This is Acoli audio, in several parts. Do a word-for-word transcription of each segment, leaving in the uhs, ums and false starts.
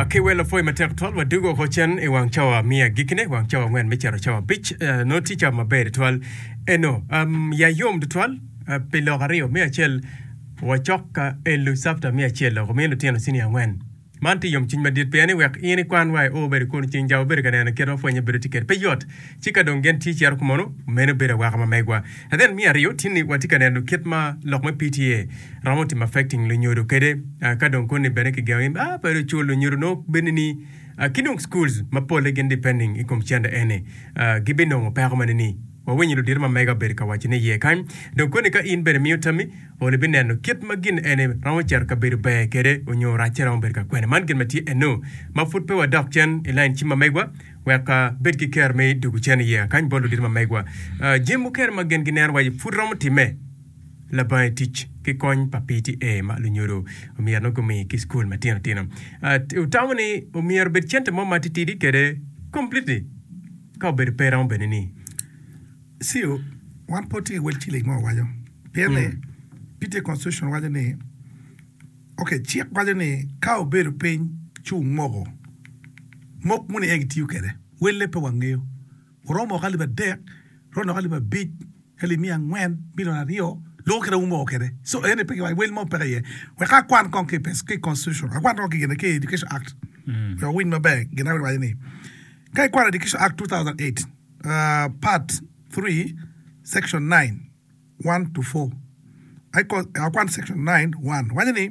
Ki wel opwoyo matek twal wadugo oko cen i wang cawa me agikine wang cawa angwen me cito cawa abic eh, nongo tye cawa maber twal eno um, ya yom tutwal uh, pi lok aryo me acel wacok ka elo chapter me acel loko miyo lutino senior angwen man tye yomcwiny madit pien ni wek in ikwan wa i o bedo kun ceng ja wabedo ka neno kit ma pwonye bedo tye kwede pe yot ci ka dong gin tye cito kumono meno bedo awaka ma megwa and then me aryo tye ni watye ka neno kit ma lok me P T A romo timo affecting lunyodo kede uh, ka dong koni bene kigengo ni ah pe cul lunyodo nongo bene ni uh, ki dong schools ma polle gin depending i kom cente eni uh, gibinongo peko mane ni wawinyo ludito ma mega obedo ka waco ni iye kany dong koni ka in bene miyo tammi olo ibineno kit ma gin eni romo cito kabedo ber kede onyo racce romo bedo ka kwene man gin ma tye eno ma pud pe wadok cen i line cim ma megwa wek uh, bed ki ker me dugo cen iye kany bot ludito ma megwa uh, jami mukene ma gin gineno waci pud romo time labange tic ki kony pa P T A ma lunyodo omyero nongo gumi ki skul matino tino uh, utamo ni omyero bed cente mo ma titidi kede completely ka obedo pe romo bene ni Sio, wan po tye wel ciling mo waco. Pien ni P T A constitution waco ni okay, cik waco ni ka obedo piny ci umoko mok muni en gitiyo kwede welle pe wangeyo oromo moko alip adek romo moko alip abic alip miya angwen milion aryo lugo kede umoko kwede so ene pe kiwaco wel mo peke iye wek akwan kong ki pes ki constitution akwan kong ki gine ki Education Act wek owinj maber gin a waco ni ka ikwano Education Act two thousand eight, uh, part three, section nine one to four. I call, akwan section nine one waco ni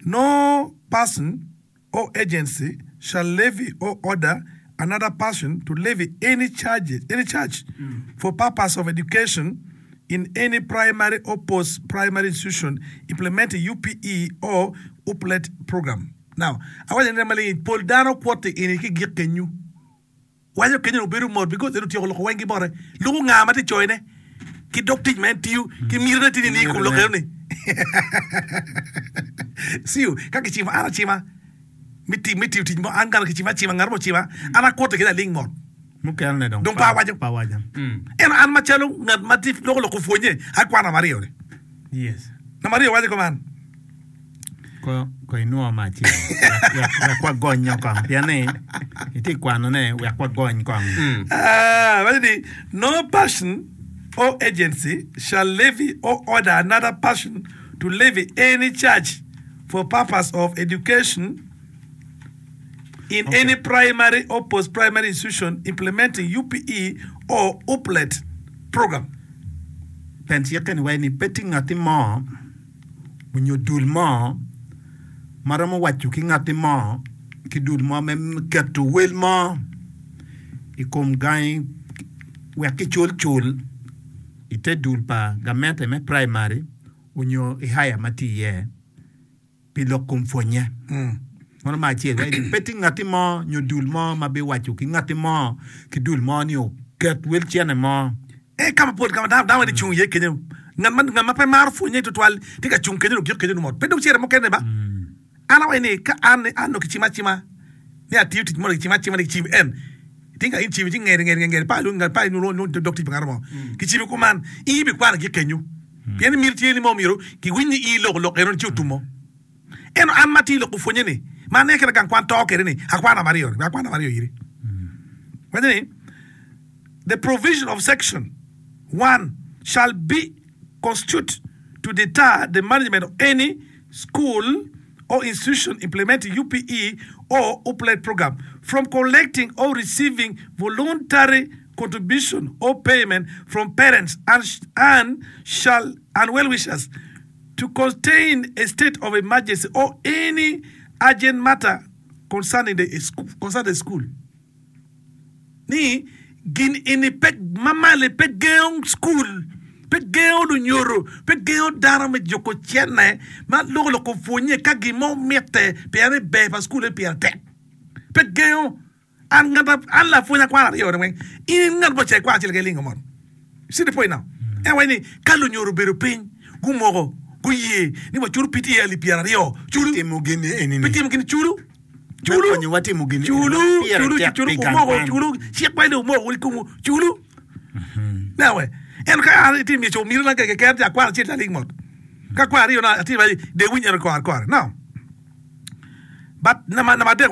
no person or agency shall levy or order another person to levy any charges any charge for purpose of education in any primary or post-primary institution implementing U P E or UPLET program. Now, awaco ni maling pol dano kwote ini ki gik kenyu waco kenyo obedo mot because en otyeko loko weng ki bote luko nga ma tye coyone ki dog tic ma en tiyo ki mitine tye ni i kom lok eno ni siu ka kicimo an acima me ti- me tiyo tic mo an kana kicima acima ngat mo ocima an akwote kede aling mot. Mukene dong Dong pa awaco. Pa awaco. En an macalo ngat ma tye loko loko pwonye akwano namba aryo ni yes namba aryo waco kuman. Ko ko inwo ma acel wek wek wek wagonyo kong pien ni itye kwanone wek wagony kong. Ah, waco ni no person or agency shall levy or order another person to levy any charge for purpose of education in Okay. any primary or post-primary institution implementing U P E or UPLET program. Pen cikke ni waci ni pe tye ngati mo onyo dul mo ma romo waco ki ngati mo ki dul mo me keto wel mo i kom gangi wek kicul cul i te dul pa gamente me primary onyo i higher ma tye iye pi lok kom pwonye. Mano ma acel waci ni pe tye ngati mo nyo dul mo ma biwaco ki ngati mo ki dul mo ni oket wel cene mo. E kama pol kama dano dano cung iye kenyo ngat ma ngat ma pe maro pwonye tutwal tye ka cung kenyo dong kenyo mot pe dong cere mukene ba an awaco ni ka an an dong kicima acima ni atiyo tic mo kicima acima ni kicimo en tinga in cimi ci ngeri ngeri ngeri pa lu pa lu dog tic pa ngat mo kicimi kuman in ibikwano gi kenyo pien miti tye ni mo myero kiwiny ni in iloko lok eno ci otumo eno an ma tye i loko pwonye ni ma ane kede gang kwan to kede ni akwano namba aryo ni akwano namba aryo iri waco ni the provision of section one shall be constitute to deter the management of any school or institution implementing U P E or UPLET program from collecting or receiving voluntary contribution or payment from parents and, and shall and well-wishers to contain a state of emergency or any urgent matter concerning the school, concerning the school. Ni gin ini pe mamali pe gengo school pe gengo lunyoro pe gengo dano me juko cene ma loko loko pwonye ka gimo mitte pien ni ber pa school pire tek pe gengo an ngat an lapwony akwano aryo ni weng in ngat mo cek kwano acel keken lingo mot. You see the point now? En waco ni ka lunyoro obedo piny gumoko guye ni waculo P T A alip pyera aryo culu. Timo gini eni pi ni timo gini culu. Me culu konyowa timo gini eni culu ma pire culu tek culu pi gang umoko kwan. Culu cik waco ni umoko wun kumu culu nawe en ka an itye miyo miro na keken ti akwano acel aling mot ka kwano aryo na atye de winy eno kore kore now but nama nama adek waco.